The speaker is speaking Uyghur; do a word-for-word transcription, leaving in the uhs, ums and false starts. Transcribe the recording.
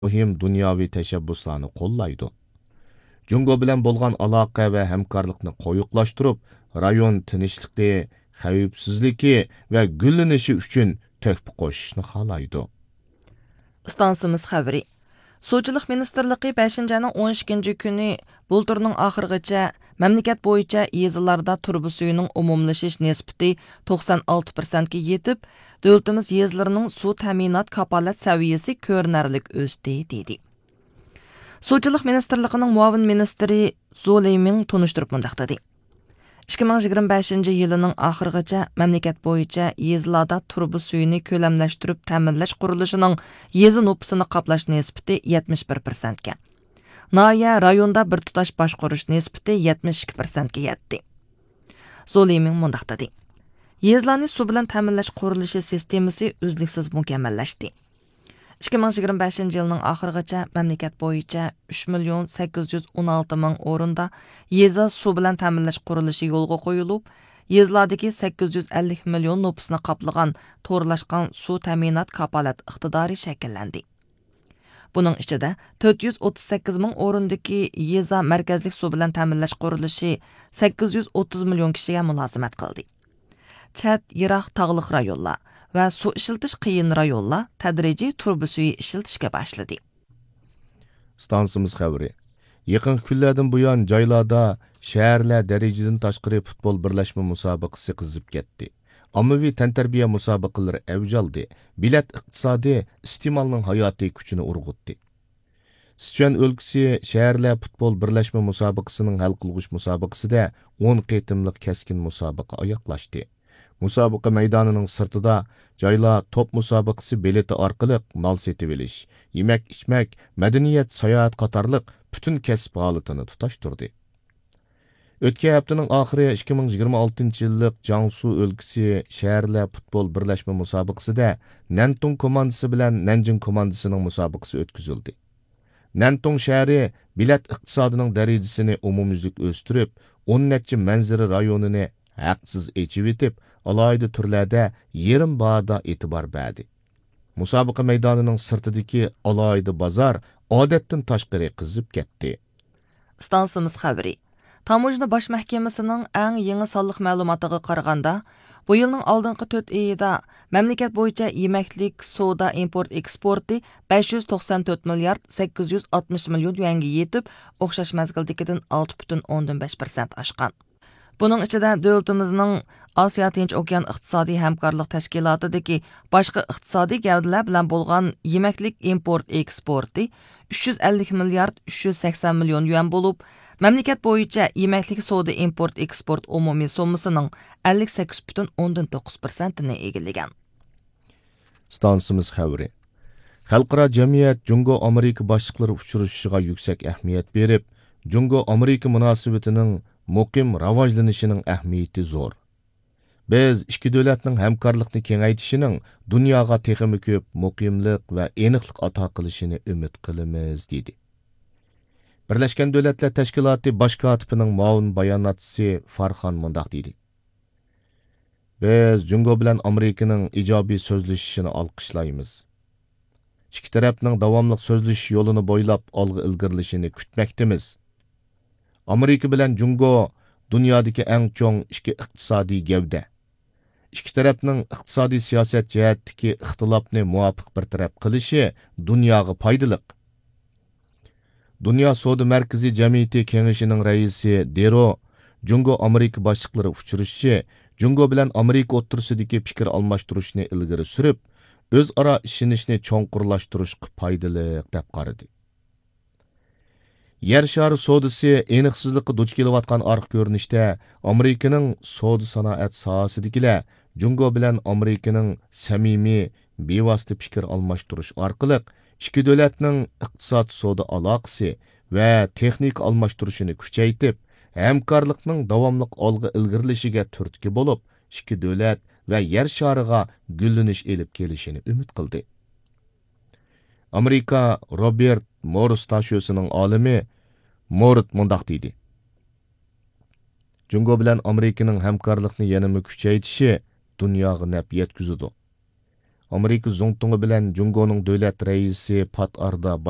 مۇھىم دۇنياۋى تەشەببۇسلارنى قوللايدۇ. جۇڭگو بىلەن بولغان ئالاقە ۋە ھەمكارلىقنى قويۇقلاشتۇرۇپ، رايون تىنچلىقى، خەۋپسىزلىكى ۋە گۈللىنىشى ئۈچۈن تۆھپە قوشۇشنى خالايدۇ. ئىستانسىمىز خەۋىرى. سۇچىلىق مىنىستىرلىقى بەشىنچى ئاينىڭ ئون ئىككىنچى كۈنى بۇلتۇرنىڭ ئاخىرىغىچە مەملىكەت بويىچە يېزىلاردا تۇرۇبا سۈيىنىڭ ئومۇملىشىش نىسبىتى توقسان ئالتە پىرسەنتكە يېتىپ، دۆلىتىمىز يېزىلىرىنىڭ سۇ تەمىنات كاپالەت سەۋىيەسى كۆرۈنەرلىك ئۆستى، دېدى. سۇچىلىق مىنىستىرلىقىنىڭ مۇئاۋىن مىنىستىرى زۇ لېيمىڭ تونۇشتۇرۇپ مۇنداق دېدى: ئىككى مىڭ يىگىرمە بەشىنچى يىلىنىڭ ئاخىرىغىچە مەملىكەت بويىچە يېزىلاردا تۇرۇبا سۈيىنى كۆلەملەشتۈرۈپ تەمىنلەش قۇرۇلۇشىنىڭ يېزا نوپۇسىنى قاپلاش نىسبىتى يەتمىش بىر پىرسەنتكە، ناھىيە، رايوندا بىر تۇتاش باشقۇرۇش نىسبىتى يەتمىش ئىككى پىرسەنتكە يەتتى. زۇ لېيمىڭ مۇنداق دېدى: يېزىلارنى سۇ بىلەن تەمىنلەش قۇرۇلۇشى سىستېمىسى ئۈزلۈكسىز مۇكەممەللەشتى. ئىككى مىڭ يىگىرمە بەشىنچى يىلنىڭ ئاخىرىغىچە مەملىكەت بويىچە ئۈچ مىليون سەككىز يۈز ئون ئالتە مىڭ ئورۇندا يېزا سۇ بىلەن تەمىنلەش قۇرۇلۇشى يولغا قويۇلۇپ، يېزىلاردىكى سەككىز يۈز ئەللىك مىليون نوپۇسنى قاپلىغان تورلاشقان سۇ تەمىنات كاپالەت ئىقتىدارى شەكىللەندى. بۇنىڭ ئىچىدە تۆت يۈز ئوتتۇز سەككىز مىڭ ئورۇندىكى يېزا مەركەزلىك سۇ بىلەن تەمىنلەش قۇرۇلۇشى سەككىز يۈز ئوتتۇز مىليون كىشىگە مۇلازىمەت قىلدى. چەت، يىراق تاغلىق رايونلار ۋە سۇ ئىشلىتىش قىيىن رايونلار تەدرىجىي تۇرۇبا سۈيى ئىشلىتىشكە باشلىدى. ئىستانسىمىز خەۋىرى. يېقىنقى كۈنلەردىن بۇيان جايلاردا شەھەرلەر دەرىجىدىن تاشقىرى پۇتبول بىرلەشمە مۇسابىقىسى قىزىپ كەتتى. ئاممىۋى تەنتەربىيە مۇسابىقىلىرى ئەۋج ئالدى. بېلەت ئىقتىسادى ئىستېمالنىڭ ھاياتىي كۈچىنى ئۇرغۇتتى. سىچۈەن ئۆلكىسى شەھەرلەر پۇتبول بىرلەشمە مۇسابىقىسىنىڭ ھەل قىلغۇچ مۇسابىقىسىدە ئون قېتىملىق كەسكىن مۇسابىقە ئاياغلاشتى. مۇسابىقە مەيدانىنىڭ سىرتىدا جايلار توپ مۇسابىقىسى بېلىتى ئارقىلىق مال سېتىۋېلىش، يېمەك-ئىچمەك، مەدەنىيەت، ساياھەت قاتارلىق پۈتۈن كەسىپ ھالىتىنى تۇتاشتۇردى. ئۆتكەن ھەپتىنىڭ ئاخىرى ئىككى مىڭ يىگىرمە ئالتىنچى يىللىق جياڭسۇ ئۆلكىسى شەھەرلەر پۇتبول بىرلەشمە مۇسابىقىسىدە نەنتۇڭ كوماندىسى بىلەن نەنجىڭ كوماندىسىنىڭ مۇسابىقىسى ئۆتكۈزۈلدى. نەنتۇڭ شەھىرى بېلەت ئىقتىسادىنىڭ دەرىجىسىنى ئومۇميۈزلۈك ئۆستۈرۈپ، ئون نەچچە مەنزىرە رايونىنى ھەقسىز ئېچىۋېتىپ، ئالاھىدە تۈرلەردە يېرىم باھادا ئېتىبار بەردى. مۇسابىقە مەيدانىنىڭ سىرتىدىكى ئالاھىدە بازار ئادەتتىن تاشقىرى قىزىپ كەتتى. ئىستانسىمىز خەۋىرى. تاموژنا باش مەھكىمىسىنىڭ ئەڭ يېڭى سانلىق مەلۇماتىغا قارىغاندا، بۇ يىلنىڭ ئالدىنقى تۆت ئېيىدا مەملىكەت بويىچە يېمەكلىك، سودا ئىمپورت ئېكسپورتى بەش يۈز توقسان تۆت مىليارد سەككىز يۈز ئاتمىش مىليون يۈەنگە يېتىپ، ئوخشاش مەزگىلدىكىدىن ئالتە پۈتۈن ئوندىن بەش پىرسەنت ئاشقان. بۇنىڭ ئىچىدە دۆلىتىمىزنىڭ ئاسىيا تىنچ ئوكيان ئىقتىسادىي ھەمكارلىق تەشكىلاتىدىكى باشقا ئىقتىسادىي گەۋدىلەر بىلەن بولغان يېمەكلىك ئىمپورت ئېكسپورتى ئۈچ يۈز ئەللىك مىليارد ئۈچ يۈز سەكسەن مىليون يۈەن بولۇپ، مەملىكەت بويىچە يېمەكلىك سودا ئىمپورت ئېكسپورت ئومۇمىي سوممىسىنىڭ ئەللىك سەككىز پۈتۈن ئوندىن توققۇز پىرسەنتىنى ئىگىلىگەن. ئىستانسىمىز خەۋىرى. خەلقئارا جەمئىيەت جۇڭگو ئامېرىكا باشلىقلىرى ئۇچرىشىشىغا يۈكسەك ئەھمىيەت بېرىپ، جۇڭگو ئامېرىكا مۇناسىۋىتىنىڭ مۇقىم راۋاجلىنىشىنىڭ ئەھمىيىتى زور. بىز ئىككى دۆلەتنىڭ ھەمكارلىقنى كېڭەيتىشىنىڭ دۇنياغا تېخىمۇ كۆپ مۇقىملىق ۋە ئېنىقلىق ئاتا قىلىشىنى ئۈمىد قىلىمىز، دېدى. بىرلەشكەن دۆلەتلەر تەشكىلاتى باش كاتىپىنىڭ مۇئاۋىن باياناتچىسى فارخان مۇنداق دېدى: بىز جۇڭگو بىلەن ئامېرىكىنىڭ ئىجابىي سۆزلىشىشىنى ئالقىشلايمىز. ئىككى تەرەپنىڭ داۋاملىق سۆزلىشىش يولىنى بويلاپ ئالغا ئىلگىرىلىشىنى كۈتمەكتىمىز. ئامېرىكا بىلەن جۇڭگو دۇنيادىكى ئەڭ چوڭ ئىككى ئىقتىسادىي گەۋدە. ئىككى تەرەپنىڭ ئىقتىسادىي سىياسەت جەھەتتىكى ئىختىلاپنى مۇۋاپىق بىر تەرەپ قىلىشى دۇنياغا پايدىلىق. دۇنيا سودا مەركىزى جەمئىيىتى كېڭىشىنىڭ رەئىسى دېرو جۇڭگو ئامېرىكا باشلىقلىرى ئۇچرىشىشى جۇڭگو بىلەن ئامېرىكا ئوتتۇرىسىدىكى پىكىر ئالماشتۇرۇشنى ئىلگىرى سۈرۈپ، ئۆزئارا ئىشىنىشنى چوڭقۇرلاشتۇرۇشقا پايدىلىق، دەپ قارىدى. يەر شارى سودىسى ئېنىقسىزلىققا دۇچ كېلىۋاتقان ئارقا كۆرۈنۈشتە، ئامېرىكىنىڭ سودا سانائەت ساھەسىدىكىلەر جۇڭگو بىلەن ئامېرىكىنىڭ سەمىمىي، بىۋاسىتە پىكىر ئالماشتۇرۇش ئارقىلىق ئىككى دۆلەتنىڭ ئىقتىساد، سودا ئالاقىسى ۋە تېخنىكا ئالماشتۇرۇشىنى كۈچەيتىپ، ھەمكارلىقنىڭ داۋاملىق ئالغا ئىلگىرىلىشىگە تۈرتكە بولۇپ، ئىككى دۆلەت ۋە يەر شارىغا گۈللىنىش ئېلىپ كېلىشىنى ئۈمىد قىلدى. ئامېرىكا روبېرت مورس تاشۆسىنىڭ ئالىمى مورت مۇنداق دېدى: جۇڭگو بىلەن ئامېرىكىنىڭ ھەمكارلىقنى يەنىمۇ كۈچەيتىشى دۇنياغا نەپ يەتكۈزىدۇ. ئامېرىكا زۇڭتۇڭى بىلەن جۇڭگونىڭ دۆلەت رەئىسى پات ئارىدا باش